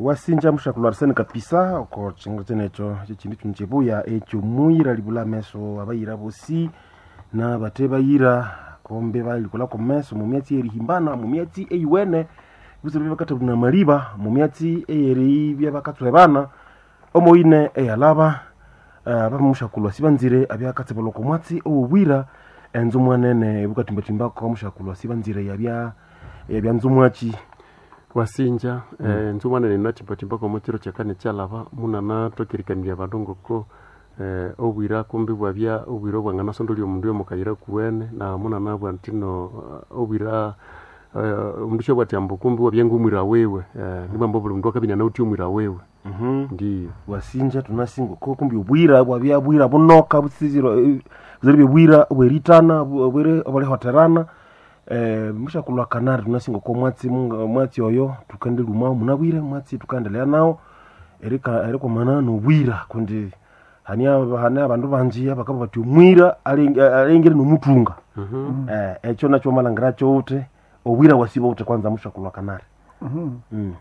Wasinja mushakulwa Arsene kapisa oko chingo chenecho chechindi chinu chibuya ekyo muyira libula ameso abayira bosi na bate bayira kombe balikola ko meso mu myatsi erihimbana mu myatsi eyiwene busiro byabakatabuna maliba mu myatsi eyeri byabakatswebana omoine eyalaba bamushakulwa sibanzire abyakatsebelwa ko mwatsi owobwira enzu mwanene bukatimbatimba mushakulwa sibanzire yabya yabya nzumwachi Wasinja nzumwanene nathimbathimba kw'omo kiro kyakani kyalaba munana thwakirikanirya abandu ngoko obwira kumbi bwabya obwira obwanganasondolya omundu yomukayira kuwene na munana bwa nthino obwira omundu syabwati ambu kumbi wabya ngomwira wiwe nibwamba obuli mundu akabya inanawithe omwira wiwe. Ndiyo. Wasinja tunasinga ko kumbi obwira bwabya bwira bunoka busiziro buzire bwira obweritana obwere obulihoterana mushakulwa kanari tunasinga ko mwatsi mwatsi oyo tukandeluma munabwire mwatsi tukandelea nawo erika erikwamana nobwira kundi hania hania abandu banji abakaba bati omwira alengere nomutunga. Ekyo nakyo malangira kyowute obwira wasiba ute kwanza mushakulwa kanari.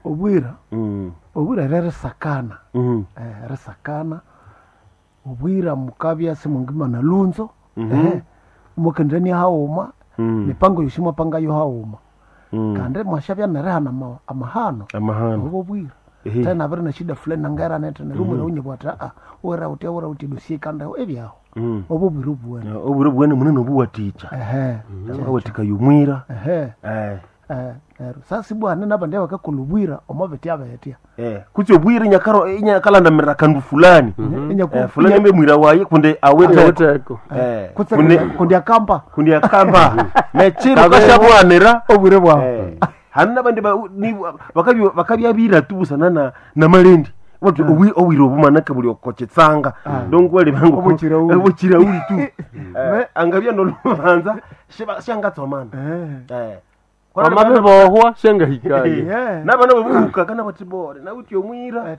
Obwira obwira rerisakana risakana obwira mukabya simungima na lunzo mukendenia hauma mipango yosi mwapangayo hauma kandi mwashabya nerihana amahano amahano obo bwira tena abiri na shida fulani nangera nete neryo omwira unye bwati aa wera utya wera uti dosie kandi ebyaho obo bwira obuwene. Obwira obuwene munene obuwatikya akawathikaya omwira. Ehe. Neryo sasa ibwa nabandi abakakolha obwira omo bitya bitya Kutsi obwira inyakaro inyakalandamirira kandu fulani fulani mbe mwira waye kundi awiteko Awitheko. Kutse kundi akamba kundi akamba nekiro kashabwanira obwire bwawe. Hanu nabandi bakabyabira tu busana na namalendi bati obwira obumanake buli okochetsanga donc wali bangu Obuchirauli. obuchirauli tu angabya nolubanza shangatsomana Wamabibohwa syangahikaye. Nabana babuhuka kana bati bore nawuti omwira.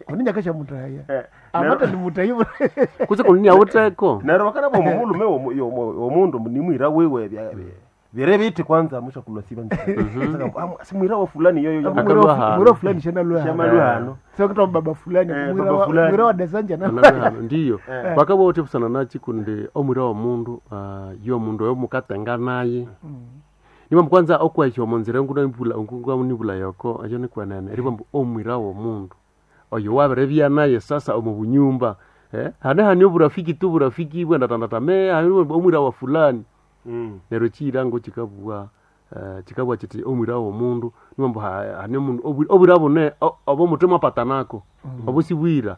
Kuni nyakasha mutahaya amata ni mutayi Kutse kundi awitheko. Neryo bakana bomulume womundu nimwira wiwe bire biti kwanza mushakulwa siba simwira wa fulani yoyo Akalwa hano. mwira fulani shanalwa Shamalwa hano. sokita baba fulani baba fulani. mwira wa desanja na Nalwe ndiyo bakaba bawithe busana nakyi kundi omwira womundu yomundu oyo mukatenga naye nibambu kwanza okwahya omunzira ngunanibula yoko ekyo nikwenene eribambu omwira womundu oyo wabiribya naye sasa omu bunyumba hane hane oburafiki tu burafiki bwendatandatame hane omwira wa fulani neryo ekiyirango kikabugha kikabugha kiti omwira womundu nibambu hane omundu obwira bune obo muthwe mwapatanako obo sibwira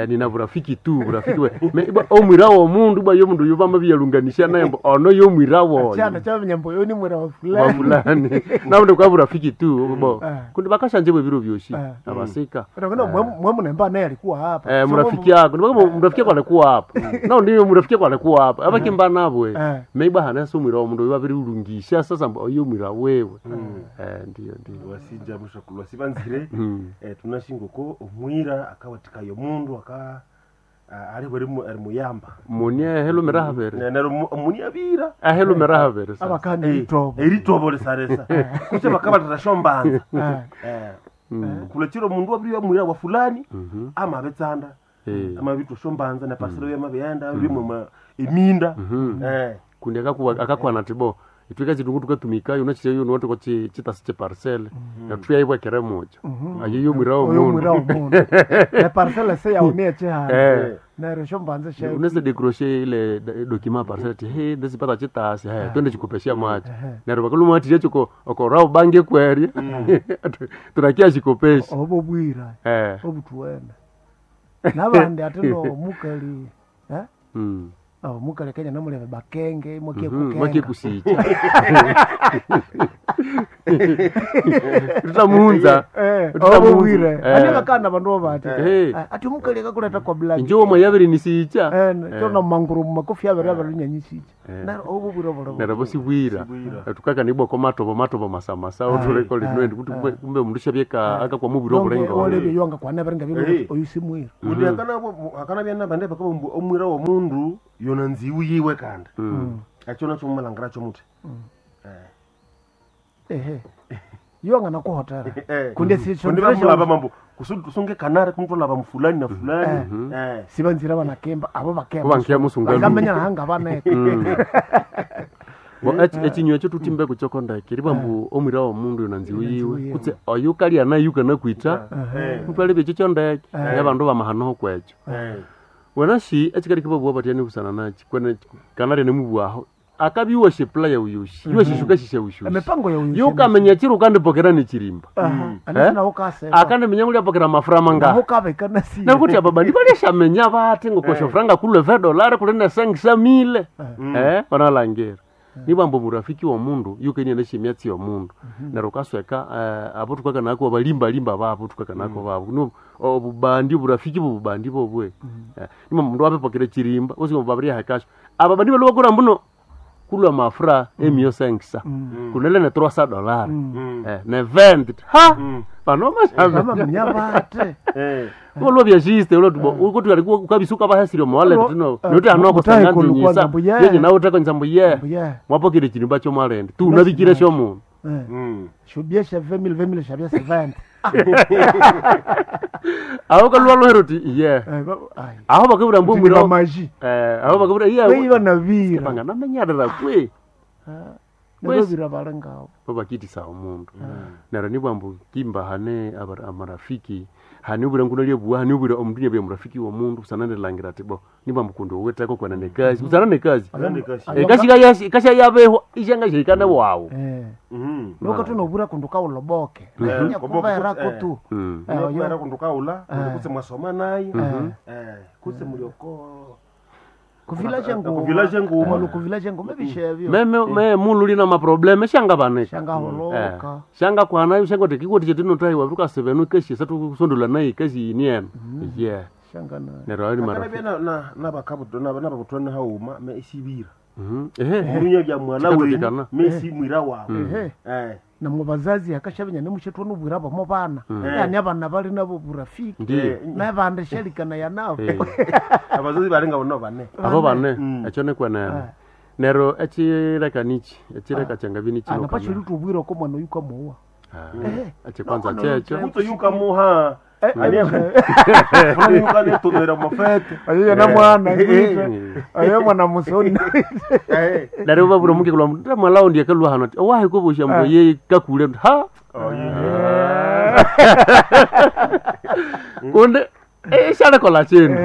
nina burafiki tu burafiki ibwa omwira womundu ibwa yomundu oyo bamabyalunganisya naye mbu ono yomwira woyo chana chamenya mbu ni mwira wa wa fulani fulani nabundi kwa burafiki tu bo kundi bakashanje bwe biro byosi abasika Unaona mwe mnemba naye alikuwa hapa murafiki yako nibaka murafiki yako alikuwa hapa nao ndiyo murafiki yako alikuwa hapa abakimba nabwe meiba hana so mwira wa mundu babiri ulungisha sasa mbu oyo mwira wewe ndiyo ndiyo. Wasinja mushakulwa sibanzire tunashingoko omwira akawathikaya omundu aka ali ari muyamba muni ahelumira habere neryo muni abira ahelumira habere sasa abakandi itobo eritobo lisaresa kutse bakabalira shombanza kulechero omundu wabiri mwira wa fulani amabetsanda amabitwa shombanza nepasiro yamabyenda rimwe eminda kundi akakwana ati bo itwika chitungu tukatumikayo unachiteyo nuwatiko chitasi chiparcele nathuyaibwekere mucho ayo yomwira oyo mwira womundu wa mundu ne parcela se yaonie chihana neryo shombanza she unaweza décrocher ile document parcelle ti he ndesipata chitasi he twende chikopesha macho neryo bakaluma ati chiko okora ubange kwerya tunakia chikopesha obo bwira obutuwene nabandi ate no mukali oh mukali kenya namuleve bakenge mwakie mwakie kukenga kusicha tutamunza obo bwira ane bakana bandu bati ati mukali akakuleta kwa black injo mwayabiri nisicha chona manguru makofi abere abere nyanyisicha neryo obo bwira bolo neryo bosibwira tukakanibwa ko matobo matobo masamasa otuleko linwendi kuti kumbe omundu syabyeka akakwa mubwira obulengo olebye yonga kwana berenga byo oyu simwira kundi akanabya nabandi bakaba omwira womundu yona nziwu yiwe kandi ekyo nakyo mumalangira kyomuthi ehe. Yo angana kuhotera. Kundi si Kundi bamulaba mambo kusudi tusunge kanare kumutolaba mufulani na fulani. Sibanzira banakemba abo bakemba. Bo musunga. Bangamenya hanga baneka. Bo echinywa ekyo tutimbe kuchoko ndeke ribambu omwira wa mundu yonanziwe yiwe kutse oyu kalya nayu kana kwita mutwale bekyo kyo ndeke abandu bamahanoho kwekyo. Wena shi ekikali kibabua batyani busana nachi kwene kanarya nemubwaho akabiwa shepula ya uyushi yuwa shishuka shisha ushushi Emipango ya uyushi. yukamenya chiro ukandipokera nechirimba. Anasi naho kaseba. Akandimenya ngulya pokera mafura Naho manga kabeka nasi. nakuti aba bandi balyashamenya bati ngokosho franga kulwe $20 kuli ne 500,000 banalangira nibambo murafiki wa mundu yukenia neshimyatsi ya mundu neryo ukasweka abo tukakanako balimbalimba babo tukakanako babo no obubandi burafiki bubandi bobwe. Nima mundu apepokere chirimba usi babirya hakasho aba bandi balobakura mbuno kulwa mafura emio sengisa kunele ne $300 ne 20 ha bano Bama mashambe menya bate. olwo byashiste olwo tubo ukuthi alikuwa ukabisuka bahasire mwale tino note anoko Utahe sanganzi kulukwa nyisa ngambu, yeah. yenye nawe utako nsambu ye Mbu ye. mwapokire chirimba cho mwalende tu unabikire sho mundu Shubye sha 20,000 20,000 shabye 70. aho kalwa lwero ti ye Ai. aho bakabura mbu Ndi mwira maji. aho bakabura ye Weyiba nabira. banga namenyarira kwe Nabira balengawo. babakitisa omundu neryo nibwambu kimba hane amarafiki hane obwira nguno lyebua hane obwira omundu nyabya murafiki womundu busana ndilangira ati bo nibwambu kundi oweteko kwana nekazi busana nekazi ekasi kasha yabehwa ishanga shikana wawo. Nuka tunobura kundu kauloboke. Nya kubera kutu. Kubera kundu kaula kutse mwasoma naye kutse mulioko Kuvilaje ngoma. Kuvilaje ngoma. Malu kuvilaje ngoma bishebyo. Meme me mulu lina maprobleme shanga baneka Shanga holoka. Shanga kwana shanga tikikuti chetinotayiwa tukasevenu keshi satusondula naye kesi ini eno ye Shanga na. neryo ayo ni marafiki. Akanabya na nabakabutwa nabakutwana hauma me isibira. Ehe. Munya bya mwana wenyu Chikatokekana. me si mwira wawe. Namwe bazazi akashabenya nemushetwa nobwira bamo bana. Yani abana bali nabo burafiki. Ndiyo. Nabande shelikana ya nabo. Abazazi barenga bono bane. Abo bane ekyo nikwenene neryo ekireka niki ekireka kyangabi nikino Anapachiri tubwira ko mwana yuka muwa. ekikwanza kyekyo Muto yuka muha. Ani fulani yuka netomera mafete. Ayo na mwana ayo mwana musoni. neryo babura mukekula mundu mwalao ndiye kalwa hano ati owahe kobosha mbu ye kakule ha kundi ishalekola chindu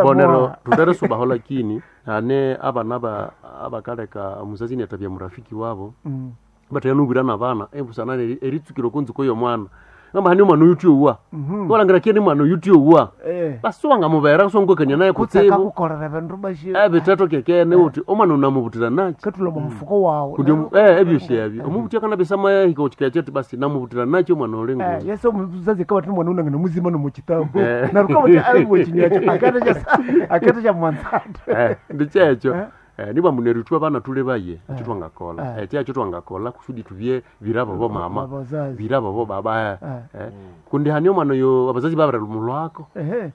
bonero tutere subaho lakini hane abana abakaleka omuzazi niatabya murafiki wabo bataya na bana ebusana eritsukiro kunzuko y'omwana ngamba hani omwana oyu uwa walangira kieni mwana oyu uwa basi wangamubera sonkwekania naye Kutseka kutsibu kukorera bindu bashi. ebiteto kekene uti omwana unamubutira nachi Katula mu mufuko wawe. kundi ebyosi ebyo omubuti akanabisama yahika okikacha ati basi namubutira nachi omwana oli ngu Yesu omuzazi akaba ati mwana unangana muzima no mukitambo. Eh. Naruka buti ali chinywacho akata cha akata cha mwanzata. ndikyekyo niba muneru abana tule baye ekyo twangakola ekyo twangakola kusudi tubye birabo bo mama Abazazi. birabo bo baba kundi hani omwana oyo abazazi babira lumulwako Ehe.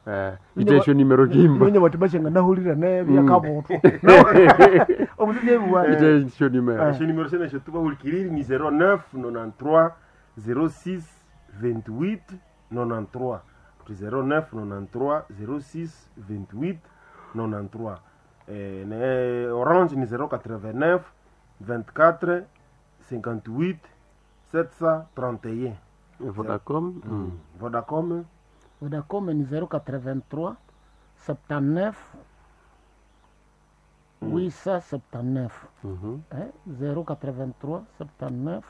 itesho nimero kimba Nyonya bati bashenga nahulira ne byakabotwa. Omuzazi ebuwa. itesho nimero Esho nimero sene esho tubahulikiriri ni 09 93 06 28 93. Kuti 09 93 06 28 93. Ne Orange ni 089 24 58 731. Vodacom. Vodacom Vodacom ni 083 79 879. 083 79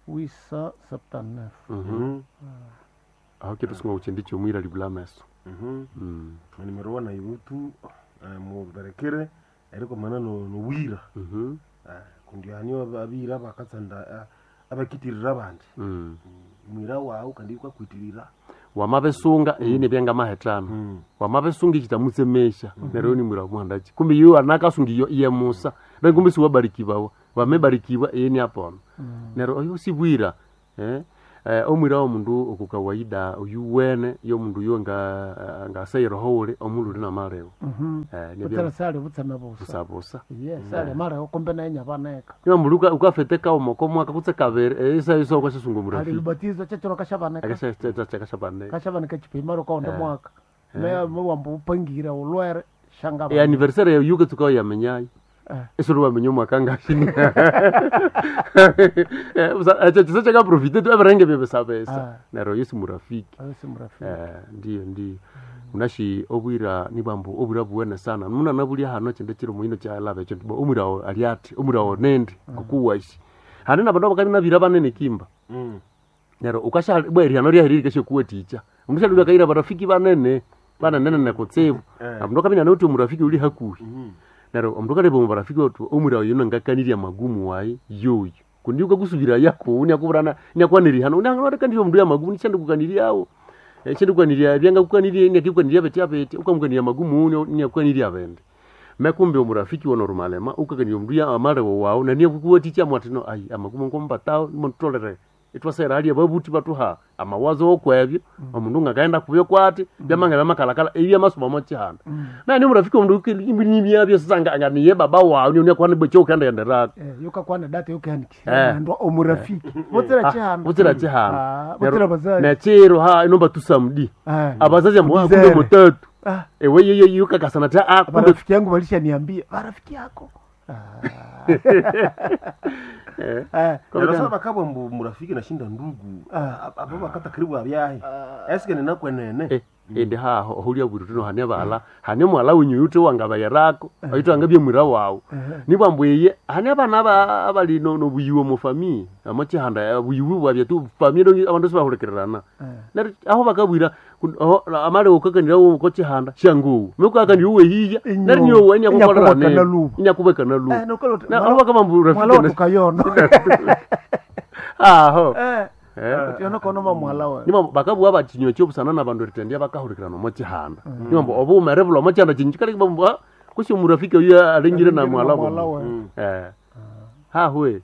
879. Aho kitusunga kuchindi chomwira libula meso. Nimero wana yutu muberekere eriko mana no wira. Kundi ani abira bakatsanda abakitirira abandi. Mwira wawu kandi kwakwitirira. Wamabesunga iyi nebyanga mahetano wamabesunga ichitamutsemesha neryo ni mwira muhandachi kumbe iyo anakasunga iyo iye musa na kumbe siwabarikibawa wamebarikiwa iyi ni apona neryo oyo sibwira Omwira w'omundu oku kawaida oyuwene y'omundu yo nga ngasayira uli omululi namalewo. Butsira sali butseme busa. Busa busa. Ye sali malewo kumbe naye nyabaneka. Niba mundu ukafete kauma komwaka kutse kabiri isa isa ukashasunga Ali murafiki. lubatizo chechero kashabaneka. Akashabaneka. Kashabaneka chipimaro kaonde mwaka. Meya wambu upangira ulwere shanga. E anniversaire ya yuka tukawa yamenyayo. Esoro wamenya omwaka ngashini. Ekyo kisa kyakaprofite tu ebirenga byebisabesa. Neryo Yesu murafiki. Yesu murafiki. Ndiyo ndiyo. Unashi obwira nibambu obwira buwene sana. Muna nabulya hano kyende kiro muhino kyalaba ekyo nti omwira ali ati omwira onendi ngokuwashi. Hane nabandu abakali nabira banene kimba. Neryo ukasha bwa erihano ryahirire kesho kuweticha. Omushalu bakaira barafiki banene banene kutsibu. Abandu kabina noti omurafiki uli hakuhi. Neryo omundu kaleba omubarafiki otu omwira oyo nangakanirya magumu wayi yoyo. Kundi ukakusubira yako unyakuburana nyakwanirihano unyangakanirya omundu ya magumu nishandikukaniryawo. Shandikukanirya ebyangakukanirya nyakikukanirya beti abeti ukamukanirya magumu nyakukanirya bende. Mekumbe omurafiki wa normalema ukakanirya omundu ya amalewo wawu na niyakukuwaticha mwati no ayi amagumu nkombatawo nimutolere. Itwasera hali ababuti batuha amawazo okwebyo omundu ngakaenda kubyo kwati byamanga byamakalakala ebi amasomo mochihanda. Na ni murafiki omundu imbinyimyabyo sasa nga niye baba wawu ni unyakuwa nibwe ukenda yenderako. Yukakwana data yukahandikira ndo omurafiki. Butsira chihanda. Butsira chihanda. Butsira bazazi. Nechiro ha inomba tusamdi. Abazazi amwa kumbe mutatu. Ewe yeye yukakasana ta a kumbe rafiki yangu walishaniambia rafiki yako. Neryo bakabwa mbu murafiki nashinda ndugu abo bakata karibu abyahe eske ninakwenene indi haho ohulya bwiri tuno hane bala hane mwala wenyu yute wangabayerako oyitu angabye mwira wawu nibwa mbu iye hane abana abali nobuyiwe mu family amachihanda buyiwe bwabye tu family abandu sibahulikirana neryo aho bakabwira amale ukakanira ko chihanda shangu mekukakanira uwe hiya neryo niyo we nyakukolera inyakubekana lu na aho bakabambu rafiki mwala tukayono aho yono kono mamwala we nima bakabwa bachinywa kyobusana nabandu eritendya bakahulikirana omo chihanda nima mbu obuwumere bulwa omo chihanda chinyu kale bambu kusi omurafiki oyo alengire na mwala bo hahwe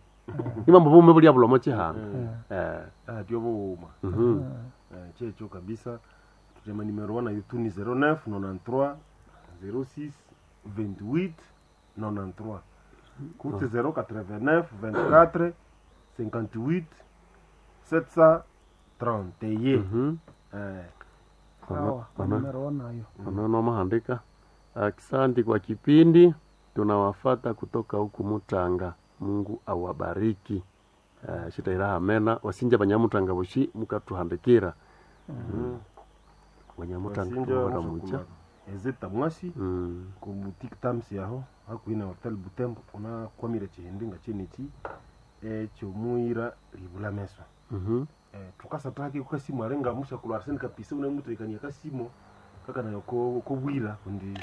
nima mbu obuwume bulya bulwa omo chihanda atyo buwuma kyekyo kabisa tutema nimero wana yetu ni 09 93 06 28 93 kuti 089 24 58 731. Ono Asante kwa kipindi, tunawafata kutoka huku Mutanga. Mungu awabariki. Shitaira amena wasinja banyamutanga boshi mukatuhandikira. Banyamutanga baramucha ezeta mwasi ku boutique Tams yaho hakuhi na hotel Butembo unakwamire chihindi nga cheneki ekyomuira libula meso. Tukasataki kukasimu arenga musha kulwa Arsene kapisa unamutekania kasimo kaka nayo ko bwira kundi